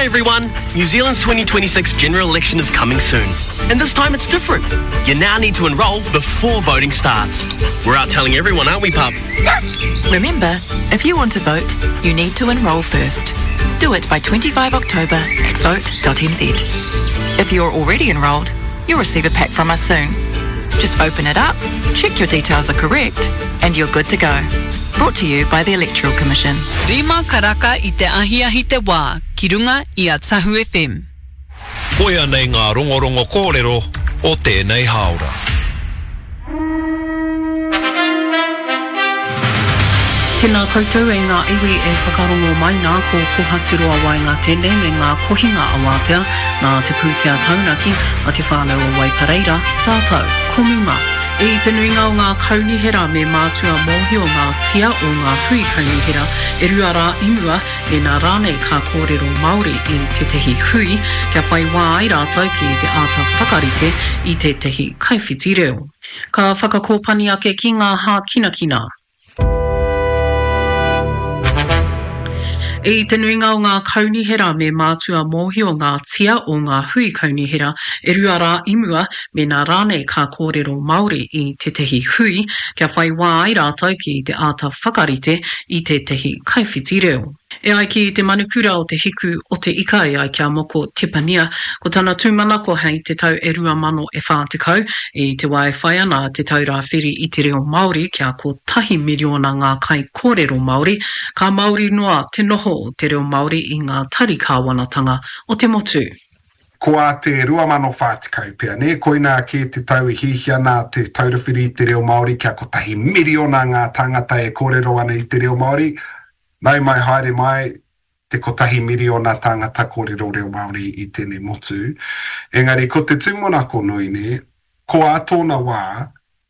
everyone. New Zealand's 2026 general election is coming soon. And this time it's different. You now need to enrol before voting starts. We're out telling everyone, aren't we, pup? Remember, if you want to vote, you need to enrol first. Do it by 25 October at vote.nz. If you're already enrolled, you'll receive a pack from us soon. Just open it up, check your details are correct, and you're good to go. Brought to you by the Electoral Commission. Rima karaka i te ahiahi te wā ki runga i a Tahu FM. Koia nei ngā rongorongo kōrero o tēnei hāora. Tēnā koutou e ngā iwi e whakarongo mai nā, ko Kohaturoa Waenga tēnei me ngā kohinga awatea nā te pūtea taunaki a Te Whānau o Waipareira, tātou, ko Muma. I te nuinga o ngā kaunihera me mātua mōhio ngā tia o ngā hui kaunihera e rua rā i mua, mēnā rānei ka kōrero Māori i tētahi hui, kia whai wā ai rātou ki te āta whakarite i tētahi kaiwhiti reo. Ka whakakōpani ake ki ngā hākinakina. I te nuinga o ngā kaunihera me mātua mōhio ngā tia o ngā hui kaunihera e rua rā i mua, mēnā rānei ka kōrero Māori i tētahi hui, kia whai wā ai rātou ki te āta whakarite i tētahi kaiwhiti reo. E ai ki te manukura o Te Hiku o Te Ika e ai ki a Moko Tepania, ko tana tūmanako hei te tau e 2000 e 40, i te wā e whai ana a Te Taura Whiri i te Reo Māori kia kotahi miriona ngā kaikōrero Māori, ka māori noa te noho o te reo Māori i ngā tari kāwanatanga o te motu. Ko ā te 2040 pea, nē, koinā kē te tau e hiahia ana Te Taura Whiri i te Reo Māori kia kotahi miriona ngā tāngata e kōrero ana i te reo Māori, nau mai haere mai te kotahi miriona tāngata kōrero reo Māori i tēnei motu. Engari ko te tūmanako nui, nē, ko ā tōna wā,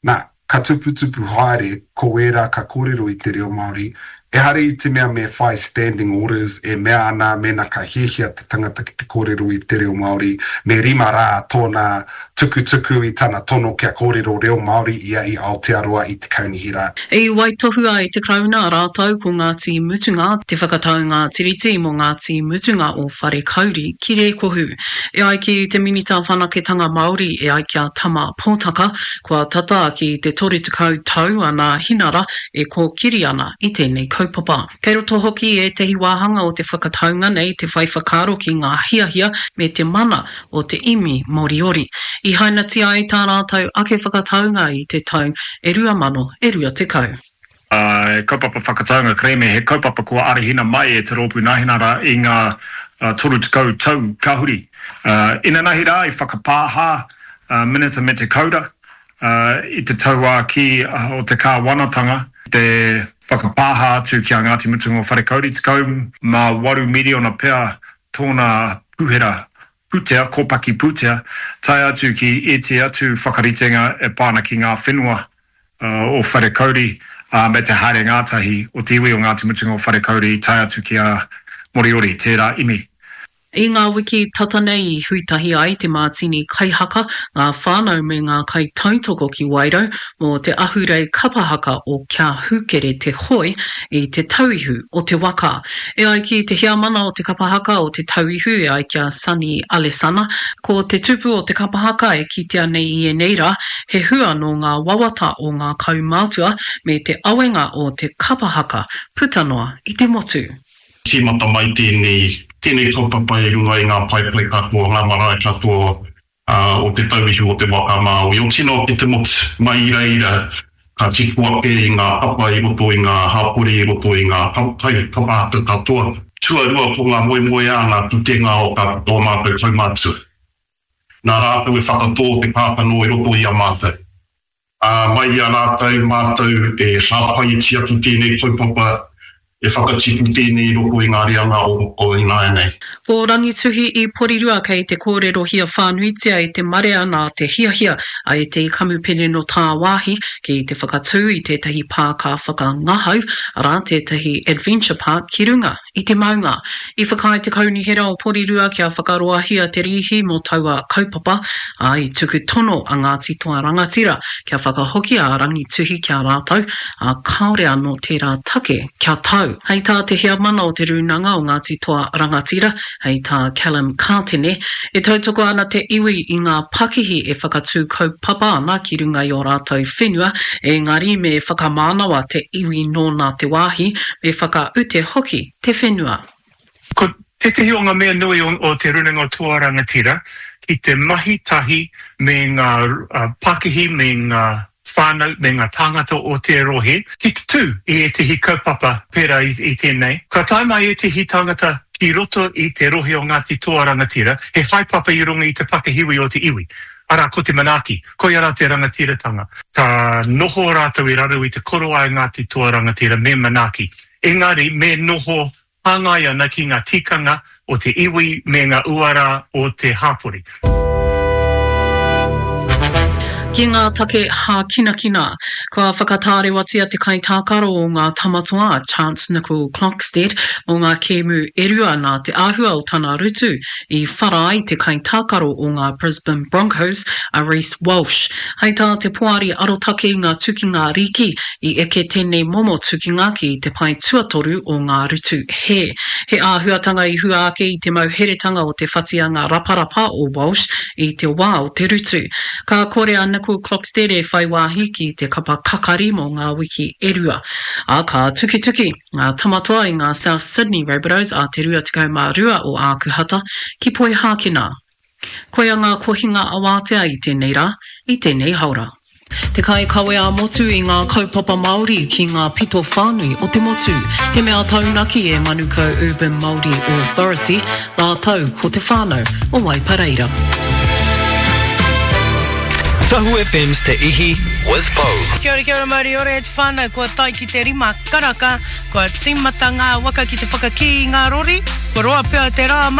Nā, ka tuputupu haere ko ērā ka kōrero i te reo Māori, ehara i te mea me whai standing orders e mea ana mēnā ka hiahia te tangata ki te kōrero i te reo Māori, me rima rā tōna tukutuku i tana tono kia kōrero reo Māori ia i Aotearoa i te kaunihera. I waitohua e te Karauna rātou ko Ngāti Mutunga te whakataunga Tiriti mō Ngāti Mutunga o Wharekauri ki Rēkohu. E ai ki te Minita Whanaketanga Māori e ai ki a Tama Pōtaka, Kua tata ki te 30 tau a Nāhinara e kōkiri ana i tēnei kaupapa. Kei roto hoki i ētahi wāhanga o te whakataunga nei te whai whakaaro ki ngā hiahia me te mana o te imi Moriori. I hainatia ai tā rātou ake whakataunga i te tau e 2000 e 20. He kaupapa whakataunga kerēme, he kaupapa kua arahina mai e Te Rōpū Nāhinara i ngā 30 tau ka huri. Inanahi rā i whakapāha a Minita Mete Kaura i te tauākī o te kāwanatanga te whakapāha atu ki a Ngāti Mutunga o Wharekauri, 18 miriona pea tōna puhera pūtea, kōpaki pūtea, tae atu ki ētehi atu whakaritenga e pā ana ki ngā whenua o Wharekauri, ā, me te haere ngātahi o te iwi o Ngāti Mutunga o Wharekauri tae atu ki a Moriori, tērā imi. I ngā wiki tata nei i hui tahi ai te mātini kaihaka, ngā whānau me ngā kaitautoko ki Wairau mō te ahurei kapa haka o Kia Hūkere Te Hoe i te tauihu o te waka. E ai ki te heamana o te kapa haka o Te Tauihu e ai ki a Sonny Alesana, ko te tupu o te kapa haka e kitea nei i ēnei rā, he hua nō ngā wawata o ngā kaumātua me te awenga o te kapa haka puta noa i te motu. Tīmata mai tēnei, tēnei kaupapa i runga i ngā paepae katoa, ngā marae katoa o Te Tauihu o Te Waka a Māui, o tino ake te motu, mai i reira ka tipu ake i ngā papa i roto i ngā hapori, i roto i ngā kapa haka katoa. Tuarua ko ngā moemoeā, ngā pūkenga o ō mātou kaumātua. Nā rātou e whakatō te kākano i roto i a mātou. Ā, mai i a rātou mātou e hāpai e tiaki tēnei kaupapa, e whakatipu tēnei i roto i ngā reanga o ināianei. Ko Rangituhi i Porirua kei te kōrerohia whānuitia e te marea nā te hiahia a ētehi kamupene nō tāwāhi ki te whakatū i tētahi pāka whakangahau, arā, tētahi adventure park ki runga i te maunga. I whakaae te Kaunihera o Porirua kia whakaroahia te rīhi mō taua kaupapa, ā, i tuku tono a Ngāti Toa Rangatira kia whakahokia a Rangituhi ki a rātou, ā, kāore anō tērā take kia tau. tau. Hei tā te heamana o Te Rūnanga o Ngāti Toa Rangatira, hei tā Callum Kātene, e tautoko ana te iwi i ngā pakihi e whakatū kaupapa ana ki runga i ō rātou whenua, engari me whakamānawa te iwi nōna te wāhi, me whakaute hoki te whenua. Ko tētehi o ngā mea nui o Te Rūnanga o Toa Rangatira ki te mahi tahi me ngā pakihi me ngā whānau me ngā tāngata o te rohe ki te tū i ētehi kaupapa pērā i tēnei. Ka tae mai ētehi tāngata ki roto i te rohe o Ngāti Toa Rangatira, he haepapa i runga i te pakihiwi o te iwi, arā ko te manaaki, koia rā te rangatiratanga. Ka noho rātou i raro i te korowai o Ngāti Toa Rangatira me manaaki, engari me noho Hāngai ana ki ngā tikanga o te iwi me ngā uara o te hapori. Ki ngā take hākinakina, kua whakatārewatia te kaitākaro o ngā Tamatoa a Chance Nicol-Clockstead mō ngā kēmu e rua nā te āhua o tana rutu i whara ai te kaitākaro o ngā Brisbane Broncos a Reece Walsh. Hei tā te Poari Arotake i ngā Tukinga Rīki, i eke tēnei momo tukinga ki te pae tuatoru o ngā rutu hē. He āhuatanga i hua ake i te mauheretanga o te whatianga raparapa o Walsh i te wā o te rutu. Ka kore a Nicol Klokstede e whai wāhi ki te kapa kakari mō ngā wiki e rua. Ā, ka tukituki ngā tamatoa i ngā South Sydney Rabbitohs ā te 22 o Ākuhata ki Poihākena. Koia ngā kohinga awātea i tēnei rā, i tēnei haora. Te kaikawe ā-motu i ngā kaupapa Māori ki ngā pito whānui o te motu. He mea taunaki e Manukau Urban Māori Authority rātou ko te whānau o Waipareira. Tahu FM's Te Ihi with Pou. Kia ora, kia ora, mauri ora e te whānau, kua tae ki te rima karaka, kua tīmata ngā waka ki te whakakī i ngā rori, kua roa pea te rā mahi.